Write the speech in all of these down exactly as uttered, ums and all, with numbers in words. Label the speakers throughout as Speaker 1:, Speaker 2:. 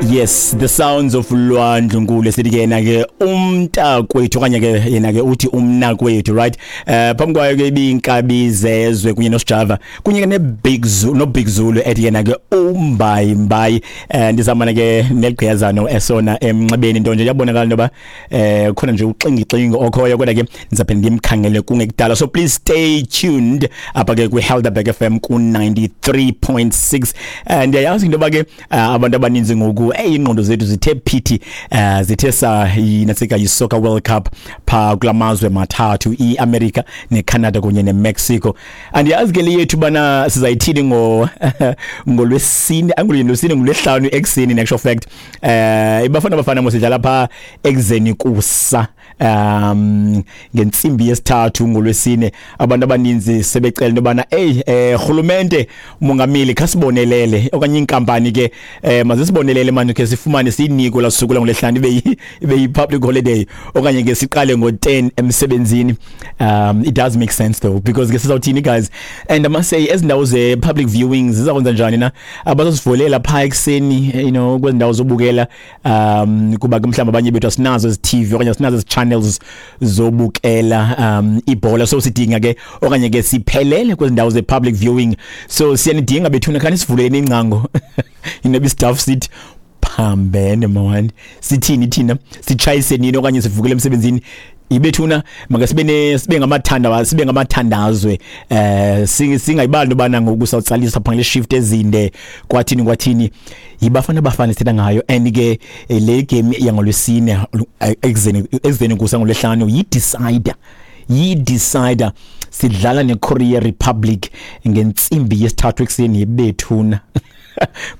Speaker 1: Yes, the sounds of Lwandlunkulu, sithi ke yena ke umntakwethu, okanye ke yena ke uthi umnakwethu, right? Eh phambi kwayo ke ibinkabi zezwe kunye noSjava kunye ke neBig Zulu, noBig Zulu ethi yena ke umbayi mbayi. Eh ndizamana ke neligqiyazano esona emnxebeni, into nje yabonakala ntoba eh khona nje uxingi-xingi okhoyo, kodwa ke ndizaphinda ndimkhangele kungekudala. So please stay tuned apha ke kwi-Helderberg F M ku ninety-three point six. Eh ndiyayazi into yoba ke uh, abantu abaninzi ngoku, hey, ingqondo zethu zithe phithi, uh, zithe sa yinasika yi-Soccer World Cup pha kulamazwe mathathu, i-America neCanada kunye neMexico. Andiyazi ke le yethu bana sizayithini ngo ngolwesine, angolwesine, ngolwesihlanu ekuseni. In actual fact, eh iBafana Bafana mosidlala pha ekuzeni kusa um ngentsimbi yesithathu ngolwesine. Abantu abaninzi sebecela into yobana, hey, eh rhulumente, umongameli, khasibonelele, okanye inkampani ke eh mazisibonelele manje ke sifumane siyiniko la suku langolwesihlanu ibe ibe yi-public holiday, okanye ke siqale ngo-ten emsebenzini. um it does make sense though, because ke sizawuthini, guys? And I must say, ezindawo ze-public viewings zizakwenza njani na? Abazosivulela phaa ekuseni you know kwezi ndawo zobukela, um kuba ke mhlawumbi abanye bethu asinazo ezi T V okanye asinazo ezi channels zobukela um ibhola, so sidinga ke okanye ke siphelele kwezi ndawo ze-public viewing. So siyanidinga bethuna, khani sivuleni ingcango. Inoba staff sithi phambene mawani, sithini thina? Sitshayise nini okanye sivukele emsebenzini ibethuna? Make sibe ne sibe ngamathanda, sibe ngamathandazwe, eh singayibali ubana ngoku sawutsalisa phangele shift ezinde, kwathini kwathini. YiBafana Bafana sithetha ngayo, and ke le game yangolwesine ekuzeni ekuzeni kusa ngolwesihlanu yi decider yi decider. Sidlala neKorea Republic ngentsimbi yesithathu ekuseni yebethuna.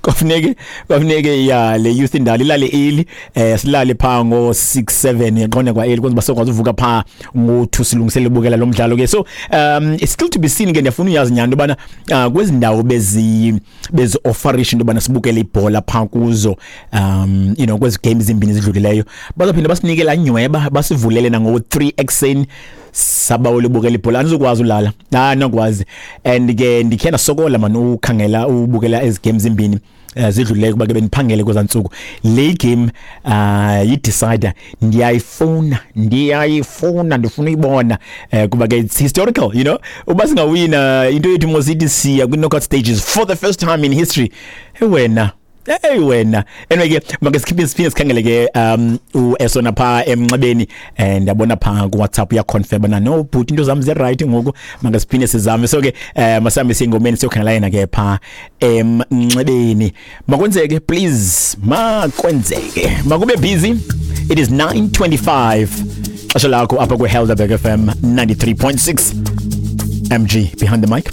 Speaker 1: Kwafuneke kwafuneke ya le youth indala ilale early, eh silale pha ngo six seven, yaqonda, kwa early, kwenza basokwazi uvuka pha ngo two, silungisele ubukela lo mdlalo ke. So um it's still to be seen ke. Ndiyafuna uyazi nyani bana uh, kwezi ndawo bezi bezi offerisha into bana sibukele ibhola pha kuzo, um you know kwezi games zimbini zidlulileyo, bazophinda basinike la nyweba, basivulele nango three ekuseni, sabawela ubukela ibhola. Andizokwazi ulala, ah, nokwazi. And ke ndikhe ndasokola man ukhangela ubukela ezi games zimbini uh, zidlulileyo, kuba ke bendiphangele kwezaa ntsuku. Le game uh yi-decider, ndiyayifuna, ndiyayifuna, ndifuna uyibona, uh, kuba ke it's historical you know Uba singawina, into yethu mosithi siya kwi-knockout stages for the first time in history. Hey wena, hey wena. Anyway ke, make sikhiphe, siphinde sikhangele ke um uEsona pha emnxebeni, and ndiyabona pha ku WhatsApp uya confirm na, no but into zami ze right ngoku. Make siphinde sizame. So ke eh masambe singomeni, siyokhangela yena ke pha emnxebeni. Makwenzeke, please, makwenzeke, makube busy. It is nine twenty-five, xesha lakho apha ku Helderberg F M ninety-three point six. M G behind the mic.